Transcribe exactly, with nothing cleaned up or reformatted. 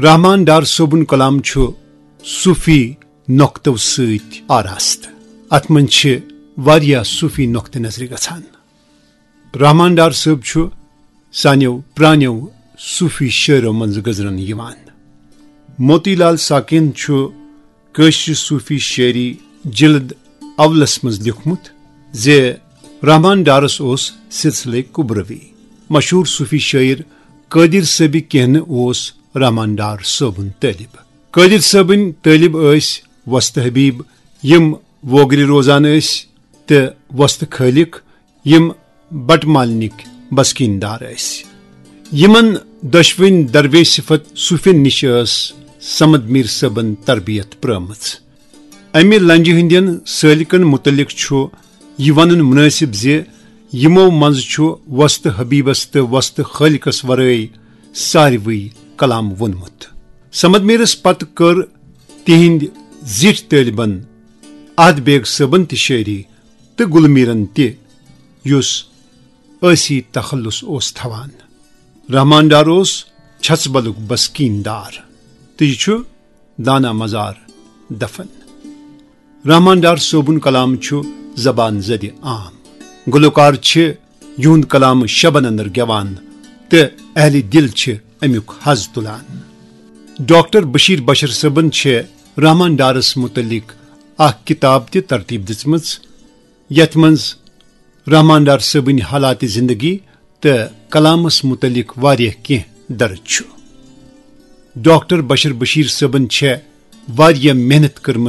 رحمان ڈار صٲبُن کلام چھُ صوفی نۄقطو سۭتۍ آراستہٕ۔ اتھ منٛز چھِ واریاہ صوفی نۄقطہٕ نظرِ گژھان۔ رحمان ڈار صٲب چھُ سانیو پرانیو صوفی شٲعرو منٛز گزرن یِوان۔ موتی لال ساکن چھُ کٲشرِ صوفی شٲعری جلد اولس منٛز لیوٗکھمُت زِ رحمان ڈارس اوس سلسلے کبروی۔ مشہوٗر صوفی شٲعر قٲدر صٲبِ کہنہٕ اوس رحمان ڈار صٲبُن طٲلب۔ قٲدر صٲبٕنۍ طٲلب ٲسۍ وۄستہٕ حبیب، یِم ووگرِ روزان ٲسۍ، تہٕ وۄستہٕ خٲلق، یِم بٹہٕ مالنِکۍ بسکیٖن دار ٲسۍ۔ یِمن دۄشوٕنۍ دربے صفت صوفین نِش ٲس صمد میٖر صٲبن تربیت پرٲومٕژ۔ امہِ لنجہِ ہٕنٛدٮ۪ن سٲلِکن مُتعلق چھُ یہِ ونُن مُنٲسِب زِ یِمو منٛزٕ چھُ وۄستہٕ حبیبس تہٕ وۄستہٕ خٲلقس ورٲے ساروٕے کلام ووٚنمُت۔ صمد میٖرس پتہٕ کٔر تِہنٛدۍ زِٹھۍ طٲلبن احد بیگ صٲبن تہِ شٲعری تہٕ گُل میٖرن تہِ، یُس ٲسی تخلص اوس تھاوان۔ رحمان ڈار اوس چھژبلُک بسکیٖن دار تہٕ یہِ چھُ دانا مزار دفن۔ رحمان ڈار صٲبُن کلام چھُ زبان زدِ عام۔ گلوکار چھِ یِہُنٛد کلام شبن اندر گٮ۪وان تہٕ اہلِ دل چھِ امیُک حظ تُلان۔ ڈاکٹر بشیر بشر صٲبن چھِ رحمان ڈارس متعلق اکھ کتاب تہِ ترتیب دِژمٕژ، یتھ منٛز رحمان ڈار صٲبٕنۍ حالات زندگی تہٕ کلامس متعلق واریاہ کینٛہہ درج چھُ۔ ڈاکٹر بشر بشیر صٲبن چھےٚ واریاہ محنت کٔرمٕژ